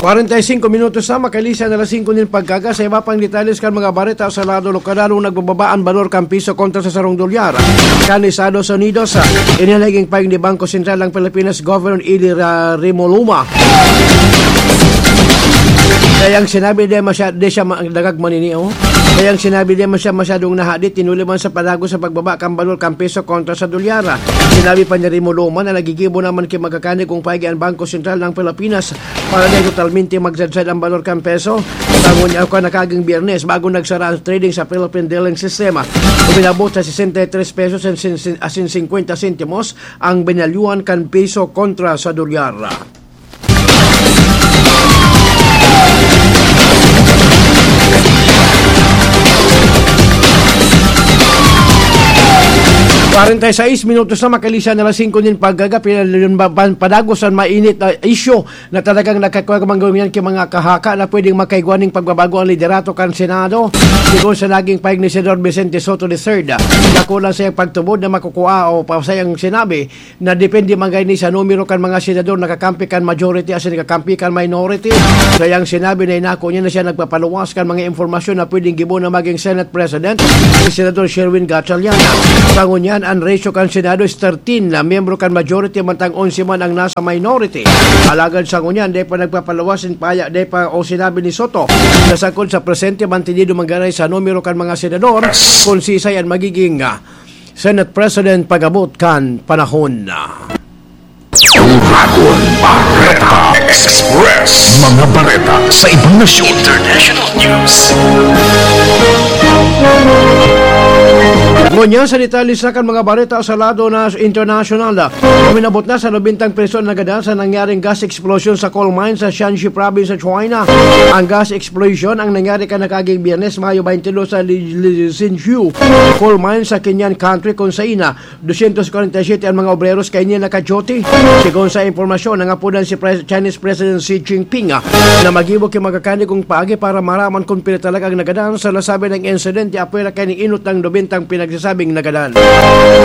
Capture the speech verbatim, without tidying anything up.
Kwarenta y singko minutos na, makalihis an alas singko nin pagkaaga. Sa iba pang detalles kan mga bareta sa lado lokal, lalong nagbababa an balor kan piso kontra sa sarong dolyar kan Estados Unidos. Ini naging pahayag ni Bangko Sentral ng Pilipinas Governor Eli Ra-, Rimuluma. Kaya ang sinabi, di masya-, di siya ma-, dagag manini, oh. Kaya ang sinabi, di masya-, masyadong nahadit, tinuli man sa padago sa pagbaba kan balor kan piso kontra sa dolyar. Sinabi pa ni Rimuluma na nagigibo naman ki magkakani kung paigi ang Bangko Sentral ng Pilipinas para di totalmente magsadsad ang balor kan peso. Tangon niya, kan nakaging Biyernes, bago nagsara ang trading sa Philippine Dealing System, uminabot sa sesenta y tres pesos asin, asin singkwenta sentimos ang binalyuhan kan piso kontra sa dolyar. Kwarenta y seis minutos na, makalihis an alas singko nin pagkaaga, pinalun-, ba-, ban-, padagos an mainit na isyu na talagang nagkakuwang manggawingan ki mga kahaka na pwedeng makaigwa ning pagbabago ang liderato kan Senado. Sigon sa naging pahayag ni Senador Vicente Sotto the third, dakula sa iyang pagtubod na makukua o pa sa iyang sinabi na depende man gani sa numero kan mga senador nakakampi kan majority asin nakakampi kan minority. Sa iyang sinabi na inako niya na siya nagpapaluwas kan mga impormasyon na pwedeng gibo na maging Senate President si Senador Sherwin Gatchalian. Sa ngunyan, ang ratio kan Senado is thirteen na miyembro kan majority, mantang onse man ang nasa minority. Alagad sa ngunyan, dai pa nagpapaluwas in paya, dai pa o sinabi ni Sotto na sagkod sa presente, mantenido man gani sa numero kan mga senador kung sisay ang magiging, ah, Senate President pag-abot kan panahon. Dragon Bareta Express. Mga bareta sa ibang nasyon. International news. Ngunyan sa detalye sa kan mga bareta sa lado na international, uminabot na sa nobentang priso ang nagadan sa nangyaring gas explosion sa coal mine sa Shanxi Province sa China. Ang gas explosion ang nangyari kan nakaaging Biyernes, Mayo twenty-two, sa Li-, Li-, Xinjiu coal mine sa Kenyan country, kung saina dosyentos kwarenta y siyete an mga obreros kaini naka-duty. Sigon sa impormasyon, nangapodan si Pres-, Chinese President Xi Jinping, ah, na maggibo ki magkakani kung paagi para maraman kung pira talaga ang nagadan. Sa nasabi ng insidente, apwera kaini inot ang nobentang pinagsasabing nagadan.